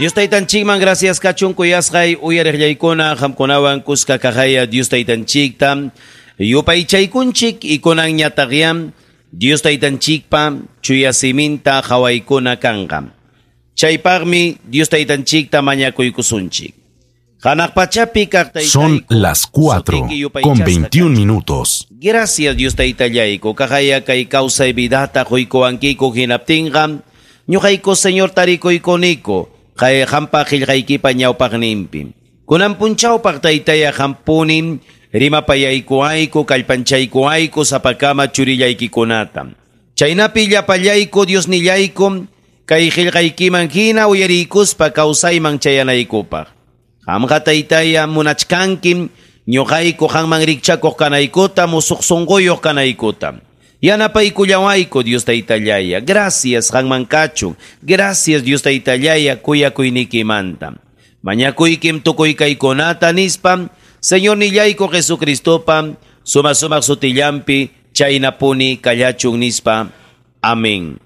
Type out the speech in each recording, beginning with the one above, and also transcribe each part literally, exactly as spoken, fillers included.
Dios taytanchikman gracias kachun kuyasqay uyariqllaykuna qamkunawan kuska kaqaya Dios taytanchikta yupaychaykunchik ikunanñataqyam Dios taytanchikpa chuya siminta qawaykuna kanqa. Chaypaqmi Dios taytanchikta mañakuykusunchik. Hanaq pachapi kaq taytayku, Son las cuatro sutiki con yupaychasqa veintiún kachun. minutos. Gracias Dios taytallayku, kaqaya kay kawsay vidata quykuwankiku hinaptinqa, ñuqayku Señor tarikuykuniku, kay qampa qillqaykipa ñawpaqninpi. Kunan punchawpaq taytaya qampunim rimapayaykuayku, kallpanchaykuayku sapakama churillaykikunata. Chaynapi llapallayku Diosnillayku, kay qillqaykiman hina uyariykuspa kawsayman chayanaykupaq. Qamqa taytaya munachkankim ñuqayku qanman rikchakuq kanaykuta, musuq sunquyuq kanaykuta. Yanapaykullawayku Dios taytallaya. Gracias qanman kachun. Gracias Dios taytallaya kuyakuynikimanta. Mañakuykim tukuy kaykunata nispa, Señor nillayku Jesucristopa, suma sumaq sutillampi, chaynapuni kallachun nispa. Amén.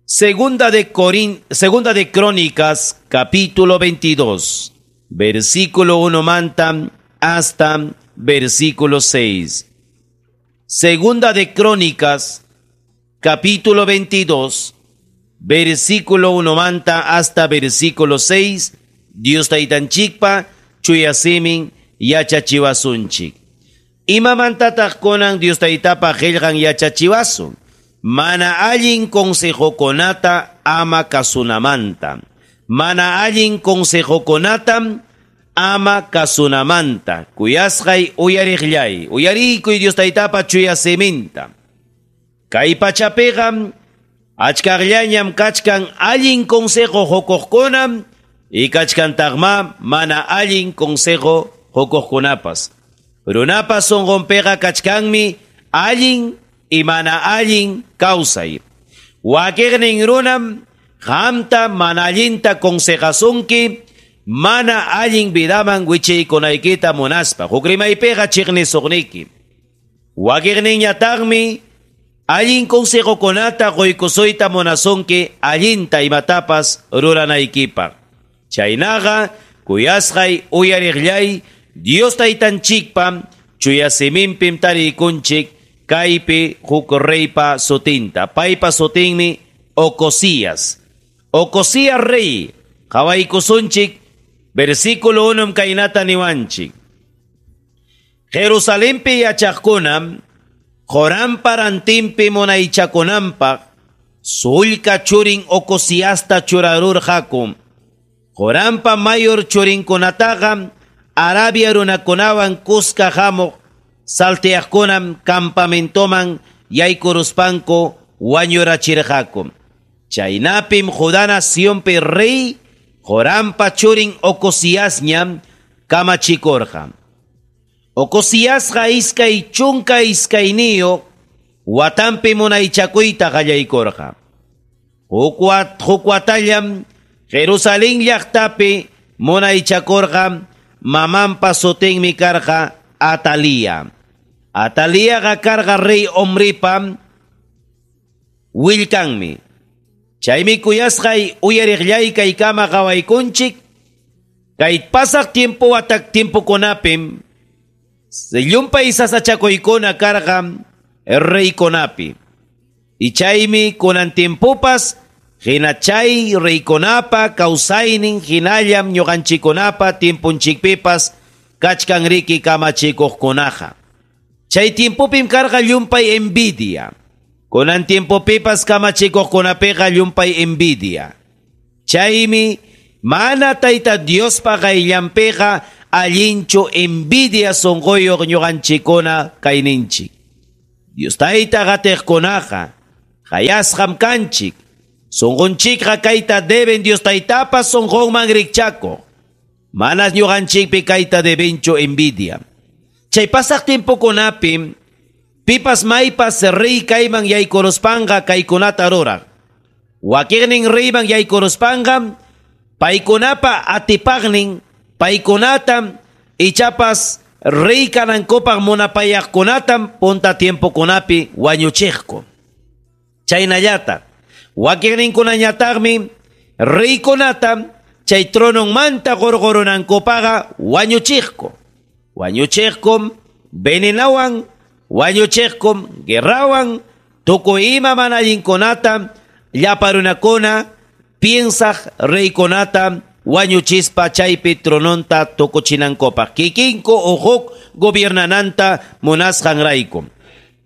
Segunda de Corin, Segunda de Crónicas, capítulo veintidós, versículo uno manta hasta versículo seis. Segunda de Crónicas, capítulo veintidós, versículo uno manta hasta versículo seis. Dios taytanchikpa chuyasimin yachachiwasunchik. Imamantataq kunan Dios taytapa qillqan yachachiwasun? Mana allin consejokunata ama kasunamanta. Mana allin consejokunata ama kasunamanta. Kuyasqay uyariqllay, uyariykuy Dios taytapa chuyasiminta. Kay pachapiqa achkaqllañam kachkan allin consejo hukuqkunam y kachkantaqma mana allin consejo hukuqkunapas. Runapas sunqunpiqa kachkanmi allin y mana allin kawsay. Wakiqnin runam qamta mana allinta consejasunki, mana allin vidaman wichiykunaykita munaspa. Huk rimaypiqa chiqnisuqniki. Wakiqninñataqmi allin consejokunata quykusuyta munasunki allinta imatapas ruranaykipaq. Chaynaqa kuyasqay uyariqllay Dios taytanchikpa chuya siminpim tariykunchik kaypi huk reypa sutinta. Paypa sutinmi Ocosías. Ocosías rey, qawaykusunchik, versículo uno kaynata niwanchik. Jerusalenpi yachaqkunam Jorampa rantinpi munaychakunanpaq sullka churin Ocosiasta churarurqaku. Jorampa mayor churinkunataqa Arabia runakunawan kuska hamuq salteaqkunam campamentoman yaykuruspanku wañurachirqaku. Chaynapim Judá nacionpi rey Jorampa churin Ocosiasñam kamachikurqa. Ocosiasqa iskay chunka iskayniyuq watanpi munaychakuyta qallaykurqa. Huk wat-, huk watallam Jerusalén llaqtapi munaychakurqa, mamanpa sutinmi karqa Atalía. Atalíaqa karqa rey Omripa willkanmi. Chaymi kuyasqay uyariqllay kaykama qawaykunchik, kay pasaq tiempo watak tiempokunapim llumpay sasachakuykuna karqa reykunapi. Y chaymi kunan tiempopas hina chay reykunapa kawsaynin hinallam ñuqanchikkunapa tiemponchikpipas kachkan riki kamachikuqkunaqa. Chay tiempopim karqa llumpay envidia. Kunan tiempopipas kamachikuqkunapiqa llumpay envidia. Chaymi mana Tayta Diospa qayllanpiqa allinchu envidia sunquyuq ñuqanchikkuna kayninchik. Dios Tayta qatiqkunaqa qayasqam kanchik. Sunqunchikqa kayta deben Dios Taytapa sunqunman rikchakuq. Manas ñuqanchikpi kayta debenchu envidia. Chay pasaq tiempokunapim pipas maypas rey kayman yaykuruspanqa kaykunata ruraq. Wakiqnin reyman yaykuruspanqa paykunapa atipaqnin paykunata ichapas rey kanankupaq munapayaqkunatam punta tiempokunapi wañuchiqku. Chaynallata wakiqninkunañataqmi reykunata chay trononmanta qurqurunankupaqqa wañuchiqku. Wañuchiqkum venenawan, wañuchiqkum guerrawan, tukuy ima mana allinkunata llapa runakuna piensaq reykunata wañuchispa chaypi trononta tukuchinankupaq. Kikinku o huk gobiernananta munasqanrayku.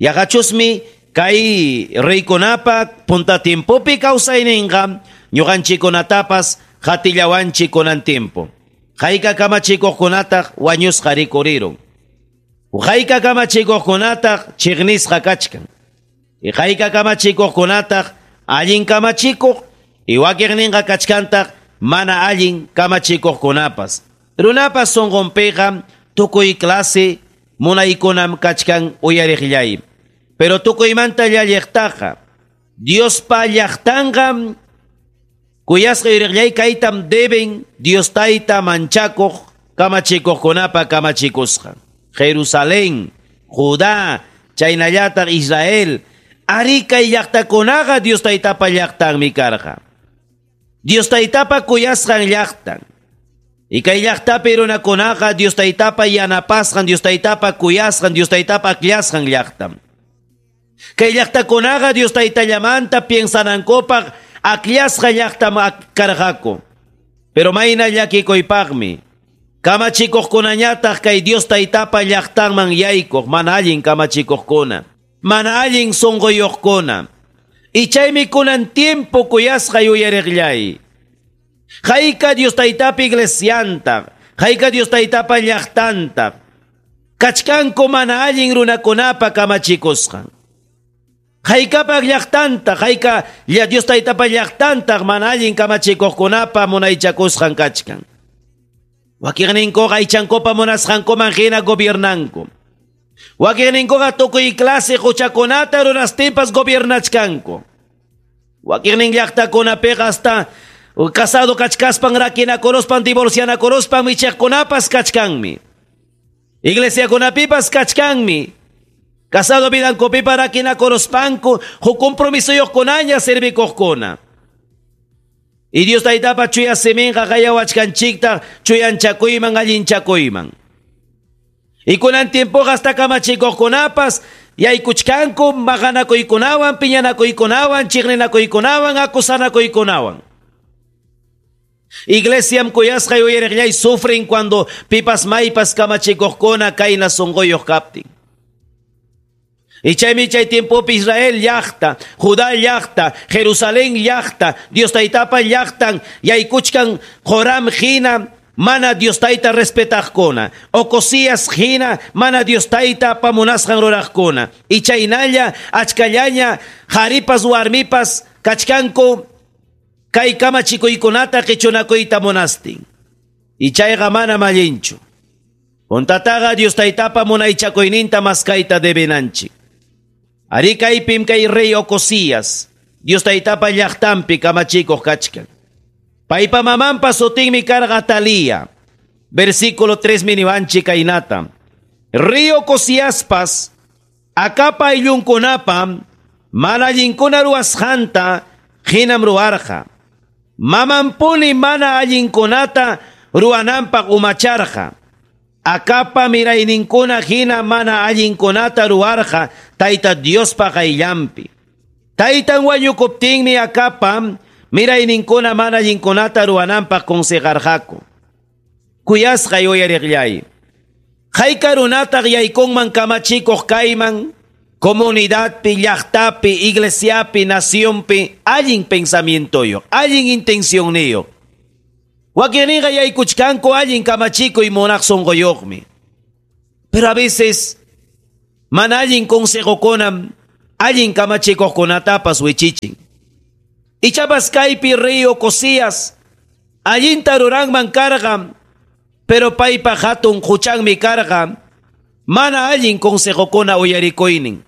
Yaqachusmi kay reykunapa punta tiempopi kawsayninqa ñuqanchikkunatapas qatillawanchik kunan tiempo. Hayka kamachikuqkunataq wañusqa rikurirun. Hayka kamachikuqkunataq chiqnisqa kachkan. Y hayka kamachikuqkunataq allin kamachikuq y wakiqninqa kachkantaq mana allin kamachikuqkunapas. Runapas sunqunpiqa tukuy clase munaykunam kachkan uyariqllay. Pero tukuymanta llalliqtaqa Diospa llaqtanqa kuyasqa yuriqllay kaytam deben Dios tayta manchakuq kamachikuqkunapa kamachikusqa. Jerusalén, Judá, chaynallataq Israel, ari kay llaqtakunaqa Dios taytapa llaqtanmi karqa. Dios taytapa kuyasqan llaqtan. Y kay llaqtapi runakunaqa Dios taytapa yanapasqan, Dios taytapa kuyasqan, Dios taytapa akllasqan llaqtam. Kay llaqtakunaqa Dios taytallamanta piensanankupaq akllasqa llaqtam karqaku. Pero mayna llakikuypaqmi kamachikuqkunañataq kay Dios taytapa llaqtanman yaykuq mana allin kamachikuqkuna, mana allin sunquyuqkuna. Y chaymi kunan tiempo kuyasqa yuyariqllay. Hayka Dios taytapa iglesianta, hayka Dios taytapa llaqtanta, kachkanku mana allin runakunapa kamachikusqan. Haykapaq llaqtanta, hayka Dios taytapa llaqtanta mana allin kamachikuqkunapa munaychakusqan kachkan. Wakiqninkuqa aychankupa munasqankuman hina gobiernanku. Wakiqninkuqa tukuy clase huchakunata runastinpas gobiernachkanku. Wakiqnin llaqtakunapiqa hasta casado kachkaspan rakinakuruspan divorcianakuruspan michiqkunapas kachkanmi. Iglesiakunapipas kachkanmi. Casado vidankupipa rakinakuruspanku huk compromisoyuqkunaña servikuqkuna. Y Dios taytapa chuya siminqa qayawachkanchikta chuyanchakuyman allinchakuyman. Y kunan tiempoqa hasta kamachikuqkunapas yaykuchkanku maqanakuykunawan, piñanakuykunawan, chiqninakuykunawan, acusanakuykunawan. Iglesiam kuyasqa yuyariqllay sufren cuando pipas maypas kamachikuqkuna kayna sunquyuq kaptin. Y chaymi chay tiempopi Israel llaqta, Judá llaqta, Jerusalén llaqta, Dios taytapa llaqtan, yaykuchkan Joram hina, mana Dios tayta respetaqkuna, Ocosías hina, mana Dios tayta pamunasqan ruraqkuna. Y chaynalla, achkallaña, qharipas warmipas kachkanku kay kamachikuykunata qichunakuyta munastin. Y chayqa mana allinchu. Puntataqa Dios taytapa munaychakuyninta maskayta debenanchik. Ari kaypim kay rey Ocosías, Dios taytapa llaqtanpi kamachikuq kachkan. Paypa mamanpa sutinmi karqa Atalía. Versículo tres miniwanchik kaynata. Rey Ocosíaspas akapa ayllunkunapa mana allinkuna ruwasqanta hinam ruwarqa. Mamanpuni mana allinkunata ruwananpaq umacharqa. Akapa mirayninkuna hina mana allinkunata ruwarqa Tayta Diospa qayllanpi. Taytan wañukuptinmi akapa mirayninkuna mana allinkunata ruwananpaq consejarqaku. Kuyasqa yuyariqllay. Hayka runataq yaykunman kamachikuq kayman, comunidadpi, llaqtapi, iglesiapi, nacionpi, allin pensamientoyuq, allin intencionniyuq. Wakiqninqa yaykuchkanku allin kamachikuy munaq sunquyuqmi. Pero a veces mana allin consejokunam allin kamachikuqkunatapas wichichin. Ichapas kaypi rey Ocosías allinta ruranman karqa, pero paypa hatun huchanmi karqa, mana allin consejokuna uyarikuynin.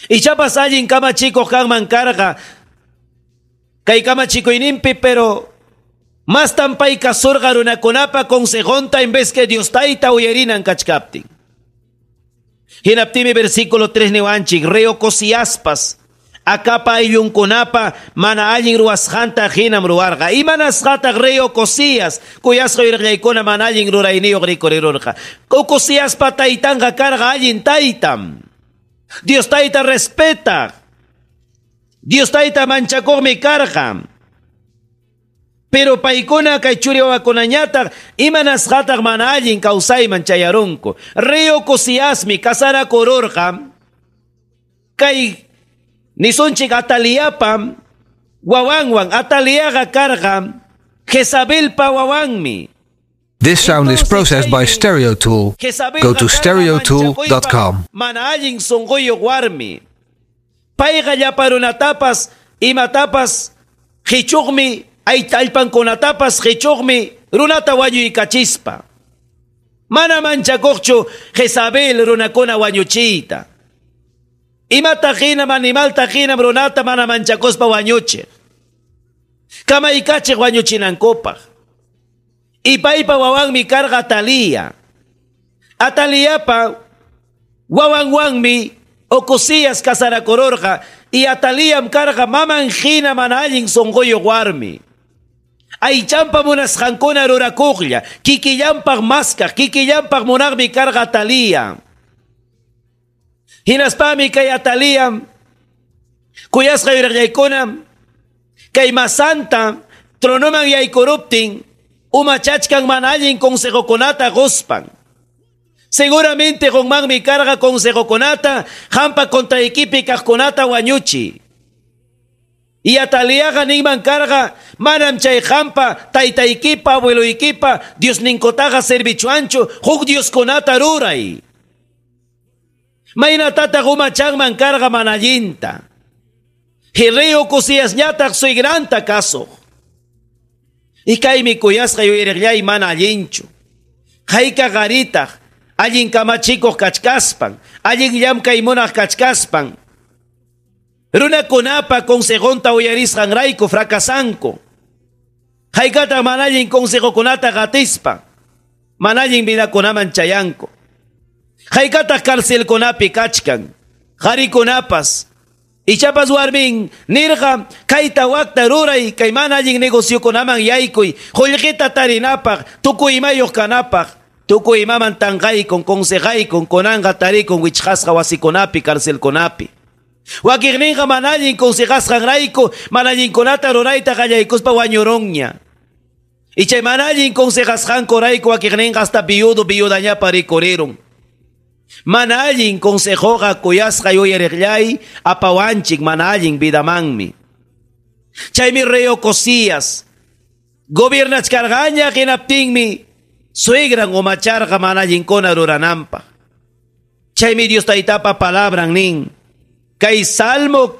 Ichapas allin kamachikuq kanman karqa kay kamachikuyninpi, pero mastan pay kasurqa runakunapa consejonta en vez que Dios tayta uyarinan kachkaptin. Hinaptimi versículo tres niwanchik, rey Ocosíaspas Acabpa ayllunkunapa mana allin ruwasqanta hinam ruwarqa. Imanasqataq rey Ocosías kuyasqa yuyariqllaykuna mana allin rurayniyuq rikurirurqa. Ocosíaspa taytanqa karqa allin taytam. Dios tayta respetaq. Dios tayta manchakuqmi karqa. Pero paykuna kay churi wawakunañataq imanasqataq mana allin kawsayman chayarunku. Rey Ocosíasmi kasarakururqa kay nisunchik Ataliapa wawanwan. Ataliaqa karqa Jezabelpa wawanmi. This sound is processed by Stereo Tool. Go to stereo tool dot com. Mana allin sunquyuq warmi. Payqa llapa runatapas imatapas qichuqmi, allpankunatapas qichuqmi runata wañuykachispa. Mana manchakuqchu Jezabel runakuna wañuchiyta. Imata hinam animalta hinam runata mana manchakuspa wañuchiq. Kamaykachiq wañuchinankupaq. Y paypa wawanmi karqa Atalía. Ataliapa wawanwanmi Ocosías kasarakururqa y Atalíam karqa maman hina mana allin sunquyuq warmi. Aychampa munasqankuna rurakuqlla, kikillanpaq maskaq, kikillanpaq munaqmi karqa Atalía. Hinaspami kay Atalía kuyasqa yuyariqllaykuna kay masanta tronoman yaykuruptin umachachkan mana allin consejokunata quspan. Seguramente qunmanmi karqa consejokunata hampa contraykipi kaqkunata wañuchi. Y Ataliaqa ninman karqa manam chay hampa taytaykipa abueloykipa Diosninkutaqa servichuanchu huk Dioskunata ruray. Maynatataq umachanman karqa mana allinta. Rey Ocosíasñataq suegranta kasuq. Y kaymi kuyasqa yuyariqllay mana allinchu. Hayka qaritaq allin kamachikuq kachkaspan, allin llamkay munaq kachkaspan. Runakunapa consejonta uyarisqanrayku fracasanku. Haykataq mana allin consejokunata qatispa, mana allin vidakunaman chayanku. Haykataq carcelkunapi kachkan, qarikunapas. Ichapas warmin nirqa kayta wakta ruray kay mana allin negociokunaman yaykuy, qullqita tarinapaq, tukuy imayuq kanapaq, tukuy imaman tanqaykun, consejaykun, kunanqa tarikun wichqasqa wasikunapi, carcelkunapi. Wakiqninqa mana allin consejasqanrayku, mana allinkunata rurayta qallaykuspa wañurunña. Y chay mana allin consejasqankurayku wakiqninqa hasta viudo viudañapa rikurirun. Mana allin consejoqa kuyasqa yuyariqllay apawanchik mana allin vidamanmi. Chaymi rey Ocosías gobiernachkarqaña hinaptinmi suegran umacharqa mana allinkuna rurananpaq. Chaymi Dios taytapa palabran nin. Kay Salmo,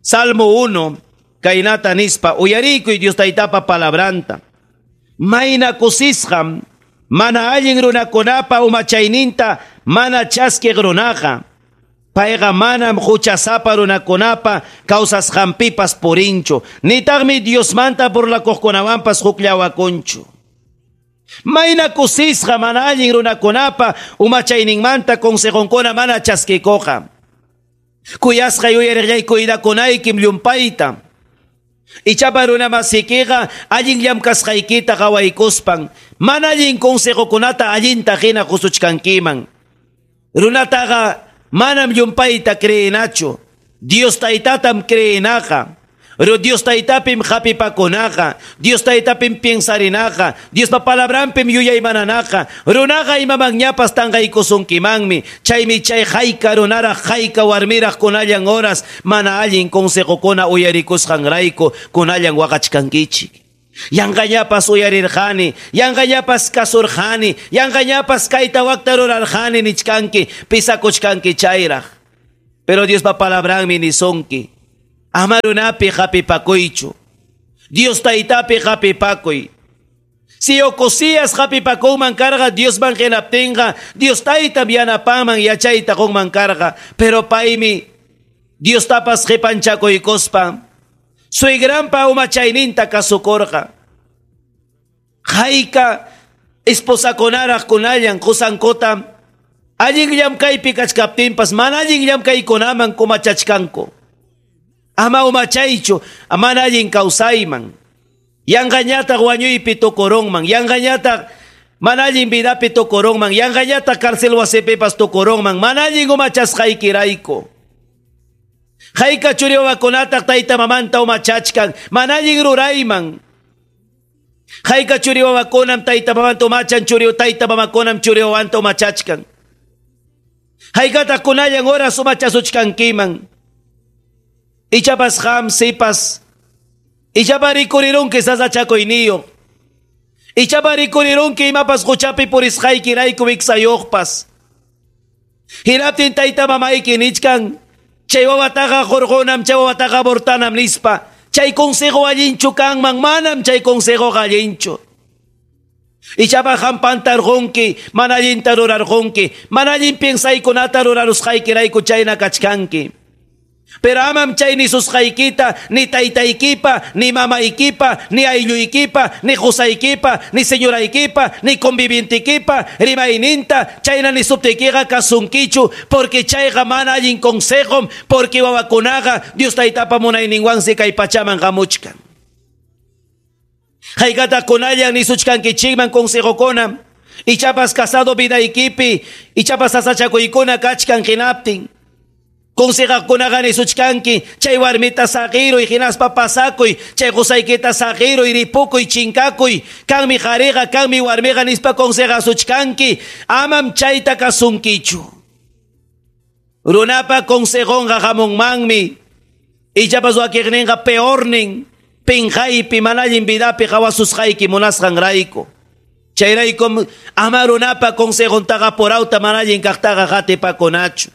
Salmo uno, kaynata nispa, uyarikuy Dios taytapa palabranta. Mayna kusisqam mana allin runakunapa umachayninta mana chaskiq runaqa. Payqa manam huchasapa runakunapa kawsasqanpipas purinchu. Nitaqmi Diosmanta burlakuqkunawanpas hukllawakunchu. Mayna kusisqa mana allin runakunapa umachayninmanta consejonkuna mana chaskikuqa. Kuyasqa yuyariqllay cuidakunaykim llumpayta. Ichapa runamasikiqa allin llamkasqaykita qawaykuspan mana allin consejokunata allinta hina qusuchkankiman. Runataqa manam llumpayta creenachu. Dios taytatam creenaqa. Dios taytapim hapipakunaqa. Dios taytapim piensarinaqa. Diospa palabranpim yuyaymananaqa. Runaqa imamanñapas tanqaykusunkimanmi. Chaymi chay hayka runaraq hayka warmiraq kunallan horas mana allin consejokuna uyarikusqanrayku kunallan waqachkankichik. Yanqañapas uyarirqani, yanqañapas kasurqani, yanqañapas kayta wakta rurarqani nichkanki, pisakuchkanki chayraq. Pero Diospa palabranmi nisunki. Ama runapi hapipakuychu. Dios taytapi hapipakuy. Si Ocosías hapipakunman karqa Diosman hinaptinqa, Dios taytam yanapanman yachayta qunman karqa. Pero paymi Diostapas qipanchakuykuspa suegranpa umachayninta kasukurqa. Hayka esposakunaraq kunallan qusankuta allin llamkaypi kachkaptinpas mana allin llamkaykunaman kumachachkanku. Ama umachaychu, mana allin kawsayman. Yanqañataq wañuypi tukurunman, yanqañataq mana allin vidapi tukurunman, yanqañataq cárcel wasipipas tukurunman, mana allin umachasqaykirayku. Hayka churi wawakunataq tayta mamanta umachachkan, mana allin rurayman. Hayka churi wawakunam tayta mamanta umachan, churi tayta mamakunam churi wawanta umachachkan. Haykataq kunallan horas umachasuchkankiman. Ichapas qam sipas, ichapa rikurirunki sasachakuyniyuq. Ichapa rikurirunki imapas quchapi purisqaykirayku wiksayuqpas. Hinaptin tayta mamayki nichkan, chay wawataqa hurqunam, chay wawataqa abortanam nispa. Chay consejo allinchu kanman, manam chay consejoqa allinchu. Ichapa qam pantarqunki, mana allinta rurarqunki, mana allin piensaykunata rurarusqaykirayku chayna kachkanki. Pero amam chay nisusqaykita, ni taytaykipa, ni mamaykipa, ni aylluykipa, ni qusaykipa, ni señoraykipa, ni convivientikipa, rimayninta, chayna nisuptiykiqa kasunkichu, porque chayqa mana allin consejom, porque wawakunaqa Dios taytapa munayninwansi kay pachaman hamuchkan. Haykata kunallan nisuchkankichikman consejokuna, ichapas casado vidaykipi, ichapas sasachakuykuna kachkan hinaptin. Consejaqkunaqa nisuchkanki, chay warmita saqiruy, hinaspa pasakuy, chay qusaykita saqiruy, ripukuy, chinkakuy, kanmi qhariqa, kanmi warmiqa nispa consejasuchkanki, amam chayta kasunkichu. Runapa consejonqa hamunmanmi, ichapas wakiqninqa peornin, pinqaypi, mana allin vidapi qawasusqayki munasqanrayku. Chayraykum ama runapa consejontaqa porawta mana allin kaqtaqa qatipakunachu.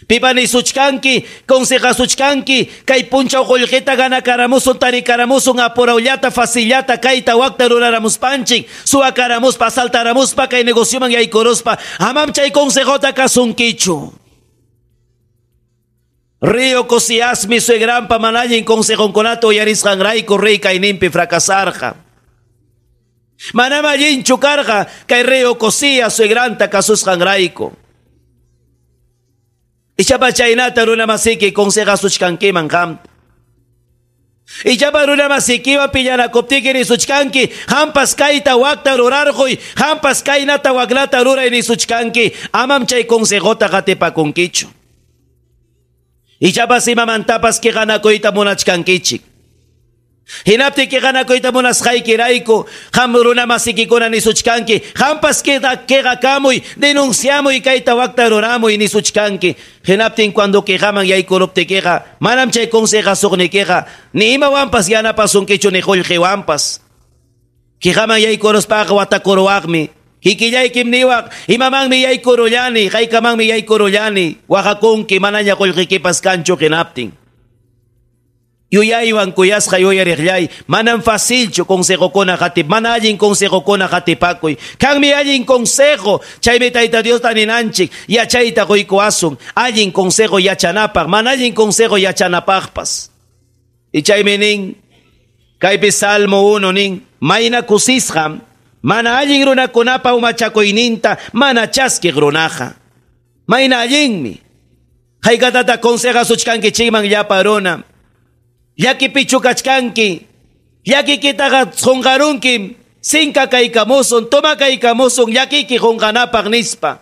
Pipa nisuchkanki, consejasuchkanki, kay punchaw qullqita ganakaramusun, tarikaramusun, apurawllata, facillata, kayta wakta ruraramuspanchik, suwakaramuspa, asaltaramuspa, kay negocioman yaykuruspa, amam chay consejota kasunkichu. Rey Ocosíasmi suegranpa mana allin consejonkunata uyarisqanrayku rey kayninpi fracasarqa. Manam allinchu karqa kay rey Ocosías suegranta kasusqanrayku. Ichapa chaynata runa masiki consejasuchkankiman qamta. Ichapa runa masikiwan piñanakuptiki nisuchkanki, hampas kayta wakta rurarquy, hampas kaynata waknata ruray nisuchkanki, amam chay consejota qatipakunkichu. Ichapas imamantapas qiqanakuyta munachkankichik. Hinapti qiqanakuyta munasqaykirayku, qam runa masikikuna nisuchkanki, hampas qiqakamuy, denunciamuy kayta wakta ruramuy nisuchkanki. Hinaptin cuando qiqaman yaykuruptikiqa, manam chay consejasuqnikiqa, ni imawanpas yanapasunkichu ni qullqiwanpas. Qiqaman yaykuruspaqa watakuruwaqmi. Kikillaykim niwaq, imamanmi yaykurullani, haykamanmi yaykurullani, waqakunki manaña qullqikipas kanchu hinaptin. Yuyaywan kuyasqa yuyariqllay, manam facilchu consejokuna qatip, mana allin consejokuna qatipakuy. Kanmi allin consejo, chaymi Tayta Diosta ninanchik, yachayta quykuwasun, allin consejo yachanapaq, mana allin consejo yachanapaqpas. Y chaymi nin, kaypi Salmo uno nin, mayna kusisqam, mana allin runakunapa umachakuyninta, mana chaskiq runaqa. Mayna allinmi. Haykatata consejasuchkankichikman llapa runa. Llakipichu kachkanki, llakikitaqa qunqarunkim, sinka kaykamusun, toma kaykamusun, llakiki qunqanapaq nispa.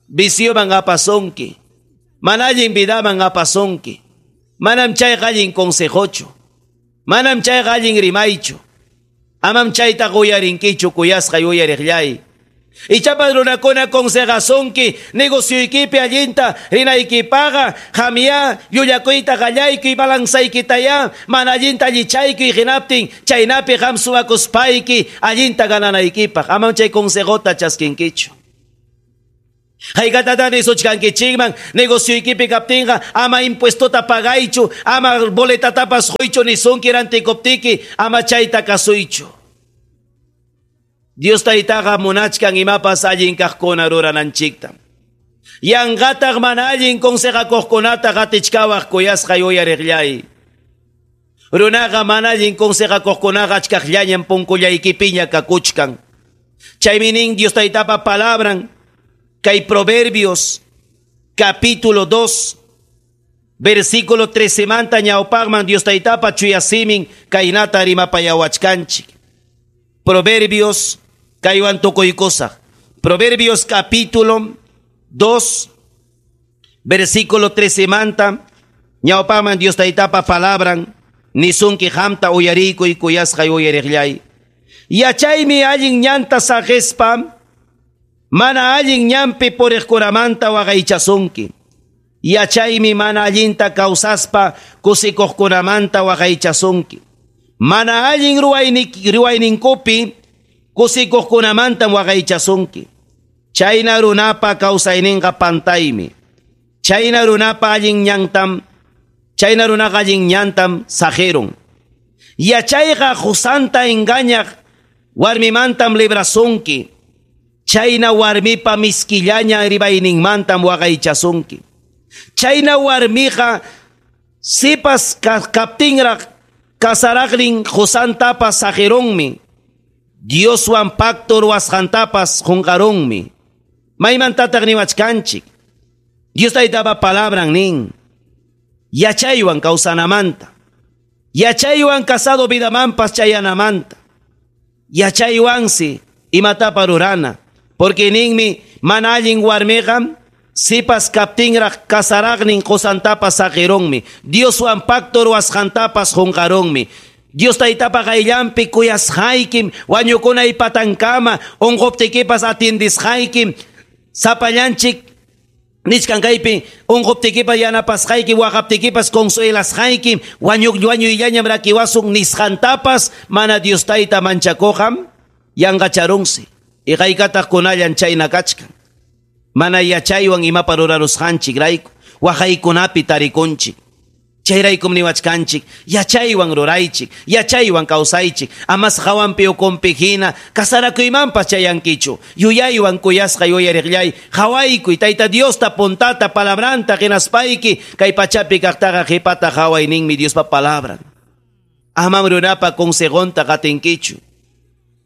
Vicioman apasunki, mana allin vidaman apasunki. Manam chayqa allin consejochu, manam chayqa allin rimaychu. Amam chayta uyarinkichu kuyasqa yuyariqllay. Ichapas runakuna consejasunki, negocioykipi allinta rinaykipaqa, qamya llullakuyta qallaykuy, balanzaykitaya, mana allinta allichaykuy hinaptin, chaynapi qam suwakuspayki allinta gananaykipaq. Amam chay consejota chaskinkichu. Haykatata nisuchkankichikman, negocioykipi kaptinqa, ama impuestota pagaychu, ama boletatapas quychu nisunki rantikuptiki, ama chayta kasuychu. Dios taytaqa munachkan imapas allin kaqkuna rurananchikta. Yanqataq mana allin consejakuqkunata qatichkawaq kuyasqa yuyariqllay. Runaqa mana allin consejakuqkunaqa achkaqllañam punkullaykipiña kakuchkan. Chaymi nin Dios taytapa palabran, kay Proverbios capítulo dos, Versículo trece manta ñawpaqman Dios taytapa chuya simin kaynata rimapayawachkanchik. Proverbios kaywan tukuykusaq. Proverbios capítulo dos, versículo trece manta ñawpaqman Dios taytapa palabran nisunki qamta uyariykuy kuyasqay uyariqllay. Yachaymi allin ñanta saqispa mana allin ñanpi puriqkunamanta waqaychasunki. Yachaymi mana allinta kawsaspa kusikuqkunamanta waqaychasunki. Mana allin ruwayninkupi kusikuqkunamantam waqaychasunki. Chayna runapa kawsayninqa pantaymi. Chayna runapa allin ñantam, chayna runaqa allin ñantam saqirun. Yachayqa qusanta engañaq warmimantam librasunki. Chayna warmipa miskillaña ribayninmantam waqaychasunki. Chayna warmiqa sipas kaptinraq kasaraqnin qusantapas saqirunmi. Dioswan pacto ruwasqantapas qunqarunmi. Maymantataq niwachkanchik. Dios taytapa palabran nin. Yachaywan kawsanamanta. Yachaywan casado vidamanpas chayanamanta. Yachaywansi imatapa rurana. Porque ninmi mana allin warmiqa sipas kaptinraq kasaraqnin qusantapas saqirunmi. Dioswan pacto ruwasqantapas qunqarunmi. Dios taytapa qayllanpi kuyasqaykim, wañukunay patankama, unquptikipas atiendisqaykim, sapallanchik nichkan kaypi unquptikipas yanapasqayki, waqaptikipas consuelasqaykim, wañuq wañuyllañam rakiwasun nisqantapas mana Dios tayta manchakuqam yanqacharunsi. Iqaykataq kunallan chayna kachkan. Mana yachaywan imapa rurarusqanchik rayku, waqaykunapi tarikunchik. Chayraykum niwachkanchik, yachaywan ruraychik, yachaywan kawsaychik, amas hawanpi ukunpi hina, kasarakuymanpas chayankichu. Yuyaywan kuyasqa yuyariqllay, hawaykuy Tayta Diosta puntata palabranta hinaspayki, kay pachapi kaqtaqa qhipata hawayninmi Diospa palabran. Amam runapa consejonta qatinkichu.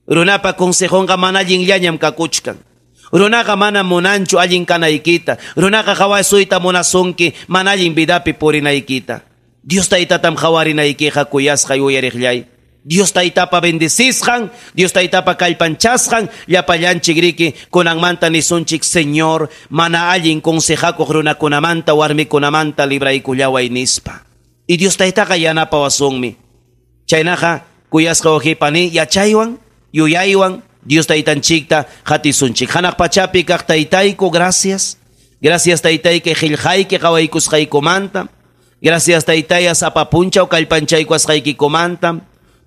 Runapa consejonqa mana allinllañam kakuchkan. Runaqa mana munanchu allin kanaykita. Runaqa hawasuyta munasunki mana allin vidapi purinaykita. Dios taytatam hawarinaykiqa kuyasqa yuyariqllay. Dios taytapa bendecisqan, Dios taytapa kallpanchasqan, llapallanchik riki kunanmanta nisunchik Señor, mana allin consejakuq runakunamanta warmikunamanta libraykullaway nispa. Y Dios taytaqa yanapawasunmi. Chaynaqa kuyasqa wawqipani yachaywan, yuyaywan Dios taytanchikta hatisunchik. Hanaq pachapi kaq taytayku, gracias. Gracias taytayki qillqayki qawaykusqaykumanta. Gracias taytaya sapa punchaw kallpanchaykuasqaykikumanta.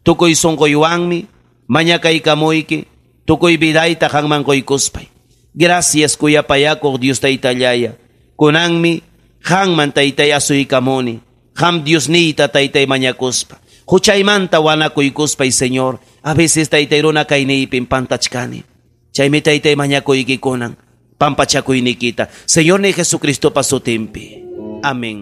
Tukuy sunquywanmi mañakaykamuyki tukuy vidayta qanman quykuspay. Gracias kuyapayakuq Dios taytallaya. Kunanmi qanman taytay asuykamuni. Qam Diosniyta taytay mañakuspa. Huchaymanta wanakuykuspay, Señor. A veces taytay runa kayniypim pantachkani. Chaymi taytay mañakuykikunan pampachakuynikita. Señor ni Jesucristo pasutimpi. Amén.